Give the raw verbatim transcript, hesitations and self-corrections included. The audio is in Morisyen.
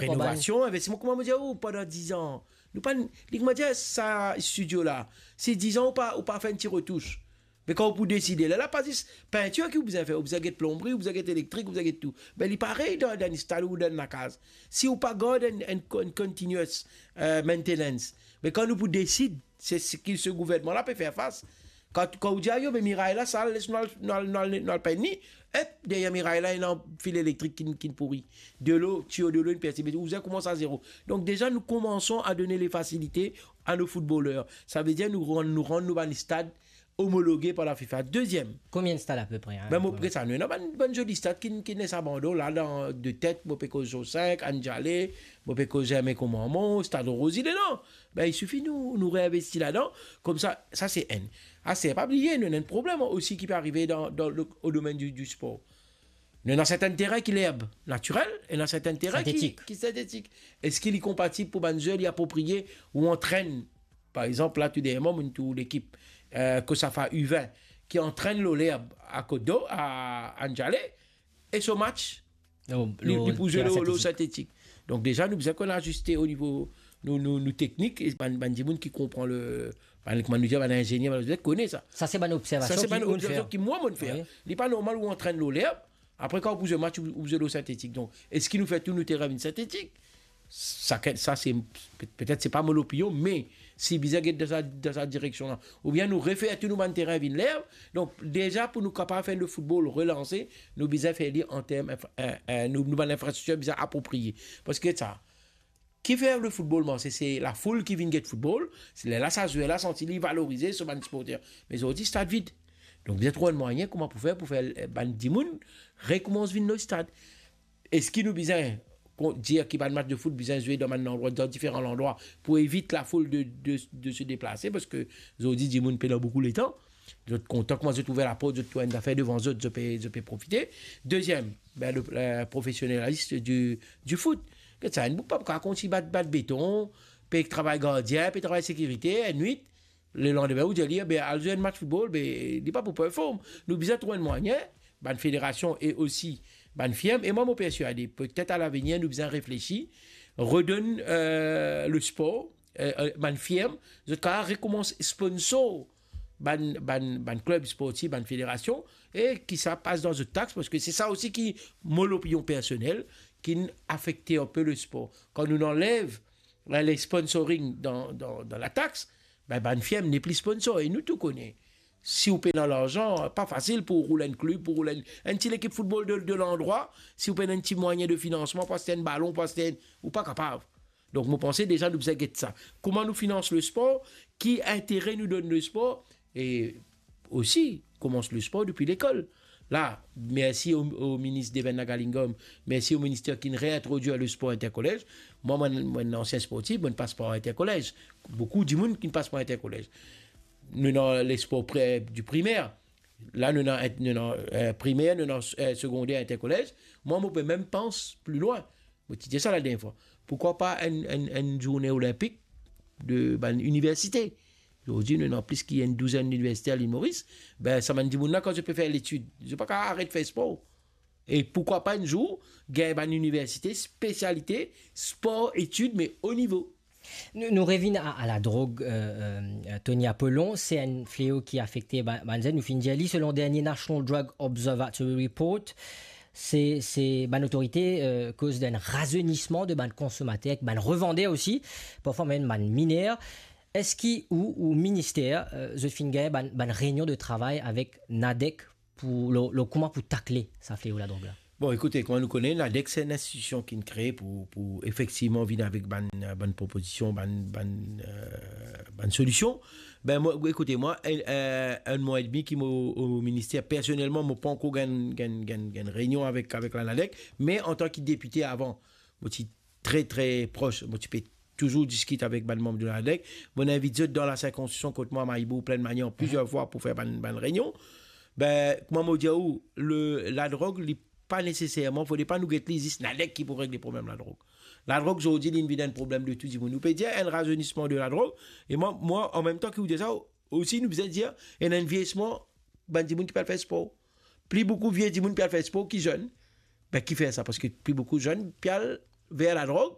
Renovasion, investiseman, kouma mo dir ou, pandan diz an. Nou pa, li kouma dir sa studio la, si diz an ou pa, ou pa fer enn ti retouch. Me kan ou pou deside, lerla pa zis pintir ki ou bizin fer, ou bizin get plonbri, ou bizin get elektrik, ou bizin get tou. Be li parey dan, dan enn stad ou dan enn lakaz. Si ou pa gard enn, enn, enn continuous, eh, maintenance, me kan nou pou desid, se seki se gouvernman la pe fer fas. Kan, kan ou dir, "Ayo, me miray la sal, les nou al, nou al, nou al, nou al pinn li," ep, deryer miray la, ena fil elektrik ki, ki pouri. Delo, tiyo delo inn perse, ou bizin koumans a zero. Donk deza, nous commençons à donner les facilités à nos footballeurs. Savedir nou rann, nou rann nou bann stad omologe par la FIFA. Deziem, Konbien stad apepre, hein, ben, mo pou- pe sa, nou ena bann, bann zoli stad ki, ki ena abandon la, dan de tet, mo pe koz Zo sink, Anjale, mo pe koz Germain Commarmond, Stad Rosie, non. Ben, il suffit nou, nou reinvesti ladan. Koumsa, sa se enn. Aster, pa bliye, nou ena enn problem osi ki pe arive dan, dan le, au domaine du, du sport. Nou ena sertin terin ki lerb natirel, e ena sertin terin ki, Sintetik. Ki sintetik. Eski li konpatib pou bann zwer, li apropriye ou antrenn, par exanp, la, tou deryer mwa, mo'nn trouv lekip, eh, Cosafa U vingt, ki antrenn lor lerb a Côte d'Or, a Anjale, e so match, Oh, li, lor li pou zwe terin lor, lor sintetik. Sintetik. Donk deza, nou bizin konn aziste o nivo nou, nou, nou teknik, e bann, bann dimoun ki konpran le, bann, kouma nou dir, bann inzenier, bann, bizin kone sa. Sa se bann observasion ki ou fer. Sa se bann observasion ki mwa, mo'nn fer. Wi. Li pa normal ou antrenn lor lerb, apre kan ou pou zwe match, ou, ou zwe lor sintetik. Donk, eski nou fer tou nou terin vinn sintetik? Sa, sa se, pe-, petet se pa mo lopinion, me si bizin get dan sa, dan sa direksion la, oubien nou refer tou nou bann terin vinn lerb. Donk, deza pou nou kapav fer le football relanse, nou bizin fer li an term inf-, eh, eh, nou, nou bann infrastriktir bizin apropriye. Parski sa, ki fer le football marse, se lafoul ki vinn get football, se lerla sa zwer la santi li valorize, so bann siporter. Me zordi, stad vid. Donk, bizin trouv enn mwayin kouma pou fer, pou fer, eh, bann dimoun rekoumans vinn lor stad. Eski nou bizin kon-, dir ki bann match de foot bizin zwe dan bann landrwa, dan diferan landrwa, pou evit lafoul de, de, de se deplase, parski zordi dimoun pena boukou letan. Zot kontan kouma zot ouver laport, zot trouv enn zafer devan zot, zot pe, zot pe profite. Deziem, ben, le, le profesionalism du, du foot. Get sa, enn boug pa pou kapav kontign bat, bat beton, pe travay gardien, pe travay sekirite, ennwit, lelandime ou dir li, be, al zwe enn match football, be, li pa pou perform. Nou bizin trouv enn mwayin, bann federasion e osi bann firm, e mwa, mo persiade, petet a lavenir, nou bizin reflesi, redonn, eh, le spor, eh, eh, bann firm, zot kapav rekoumans sponsor bann, bann, bann klub sportif, bann federasion, e ki sa pas dan zot tax, parski se sa osi ki, mo lopinion personel, ki'nn afekte enpe le spor. Kan nou anlev, eh, le sponsoring dan, dan, dan latax, ben, bann firm nepli sponsor, e nou tou kone. Si ou pena larzan, pa fasil pou roul enn klub, pou roul enn, enn ti lekip football de, de landrwa, si ou pena enn ti mwayin de finansman, pou aste enn balon, pou aste enn, ou pa kapav. Donk, mo panse deza nou bizin get sa. Kouma nou finans le spor, ki intere nou donn le spor, e osi, koumans le spor depi lekol. La, mersi o, o minis Devon Nagalingam, mersi o minister ki'nn reintrodwir le spor interkolez. Mwa, mwa, mwa, enn ansien sportif, mo'nn pas par interkolez. Boukou dimoun ki'nn pas par interkolez. Nou ena le spor pre-, du primer. La, nou ena, nou ena, eh, primer, nou ena, eh, segonder, interkolez. Mwa, mo pe mem pans pli lwin. Mo ti dir sa ladernie fwa. Poukwa pa enn, enn, enn zourne olinpik de bann iniversite? Zordi, nou ena plis ki enn douzenn iniversite a Lil Moris. Ben, sa bann dimoun la, kan zot pe fer letid, zot pa kapav aret fer spor. E poukwa pa enn zour, gagn bann iniversite, spesialite, spor, etid, me o nivo. Nou, nou revinn a, a ladrog, eh, eh, Tony Apollon, se enn fleo ki afekte ba-, bann zenn. Nou finn dir li, selon dernie National Drug Observatory Report, se, se bann otorite, eh, koz d'enn razenisman de bann konsomater, ek bann revander osi, parfwa mem bann miner. Eski ou, ou minister, eh, zot finn gagn bann, bann reynion de travay avek NADEC pou, lor, lor kouma pou takle sa fleo ladrog la? Bon, ekoute, kouma nou kone, NADEC se enn institision ki'nn kree pou, pou efektivman vinn avek bann, bann propozision, bann, bann, eh, bann solision. Ben, mwa, ekoute, mwa, enn, eh, enn mwa edmi ki mo o minister, personelman, mo pankor gagn, gagn, gagn, gagn reynion avek, avek la NADEC, me antan ki depite avan, mo ti tre, tre pros, mo ti pe touzour diskit avek bann manm de la NADEC. Mo'nn invit zot dan la sirkonskripsion kot mwa, Mahe-Bourg, Plaine Manière, plizier fwa pou fer bann, bann reynion. Ben, kouma mo dir ou, le, ladrog, li pa neseserman, fode pa nou get li zis NADEC ki pou regle problem ladrog. Ladrog, zordi, li'nn vinn enn problem de tou dimoun. Ou pe dir enn razenisman de ladrog, e mwa, mwa, an mem tan ki ou dir sa, osi nou bizin dir, ena enn vieyisman bann dimoun ki pe al fer spor. Pli boukou vie dimoun pe al fer spor ki zenn. Ben, ki fer sa? Parski pli boukou zenn pe al ver ladrog,